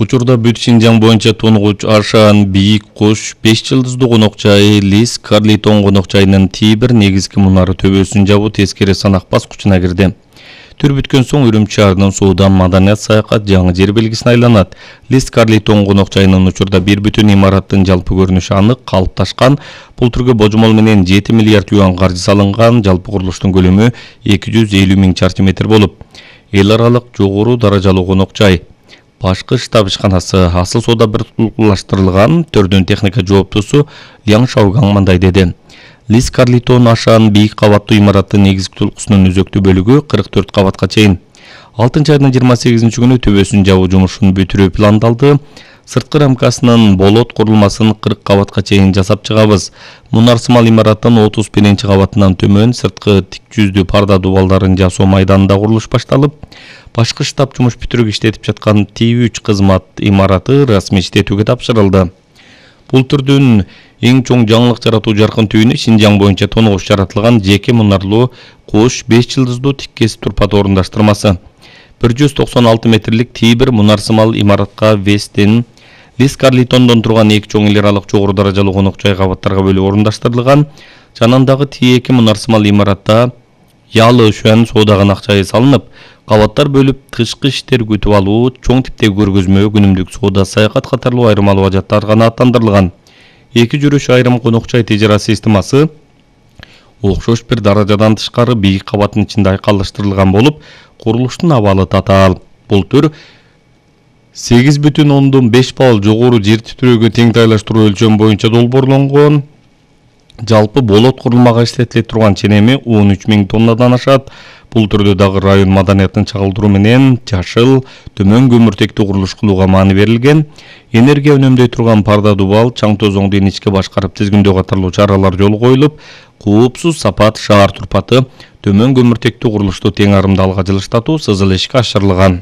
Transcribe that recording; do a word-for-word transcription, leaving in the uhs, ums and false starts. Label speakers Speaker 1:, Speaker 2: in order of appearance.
Speaker 1: Учурда бүт Шинжаң боюнча тунугуч Ашан Бийик Куш беш жылдыздуу конок жайы Лис Карлитон конок жайынын Тибир негизги мунары төбөсүн жабуу тескери санак баскычына кирди. Түр бүткөн соң Үрүмчү шаарынын суудан маданият саякат жаңы жер белгисине айланат. Лис Карлитон конок жайынын учурда бир бүтүн имараттын жалпы көрүнүшү анык калыпташкан. Бул түргө божомол менен жети миллиард юан каржы салынган. Жалпы курулуштун көлөмү эки жүз элүү миң чарчы метр болуп, эл аралык жогору даражалуу конок жай. Башкы штаб ишканасы асыл соода биртукташтырылган төрдүн техника жооптусу Ляң Шаугаң мындай деди. Лис Карлитон Ашан бийик кабаттуу имараттын негизги толкусунун өзөктүү бөлүгү кырк төрт кабатка чейин. алтынчы айдын жыйырма сегизинчи күнү төбөсүн жабуу жумушун бүтүрүү пландалды. Сырткы рамкасынын болот курулмасын кырк кабатка чейин жасап чыгабыз. Мунарсымал имараттын отуз биринчи кабатынан төмөн сырткы тик жүздүү парда дубалдарын жасоо майданында курулуш башталып, башкы штаб жумуш бүтүрүп иштетип жаткан Ти үч кызмат имараты расмий иштетүүгө тапшырылды. Бул түрдүн эң чоң жаңылык жаратуу жаркын түйүнү Шинжаң боюнча тонугуш жаратылган жеке мунарлуу Куш беш жылдыздуу тик кесип турпат орундаштырмасы. бир жүз токсон алты метрлик Тибир мунарсымал имаратка Вестин Лис Карлитондон турган эки чоң эл аралык жогору даражалуу конок жай кабаттарга бөлүп орундаштырылган. Жанындагы Ти эки мунарсымал имаратта Ялы Шуан соодаган акчай салынып, кабаттар бөлүп тышкы иштер күтүп алуу, чоң типтеги көргөзмө, күнүмдүк соода, саякат катарлуу айрым албажаттар гана аттандырылган. Эки жүрүш айрым конок жай тежара системасы окшош бир даражадан тышкары бийик кабаттын ичинде айкалыштырылган болуп, курулуштун абалы татаал. Бул түр сегиз бүтүн ондон беш балл жогору жер титирөөгө тең тайлаштыруу өлчөм боюнча долбоорлонгон. Жалпы болот курулмага иштетиле турган ченеми он үч миң тоннадан ашат. Бул түрдө дагы район маданиятын чагылдыруу менен жашыл, төмөн көмүртектүү курулуш кылууга маани берилген. Энергия үнөмдөй турган парда дубал, чаң тозоңду ичке башкарып тизгиндөө катарлуу чаралар жолго коюлуп, куупсуз сапат шаар турпаты, төмөн көмүртектүү курулушту тең арымдалга жылыштатуу сызыл ишке ашырылган.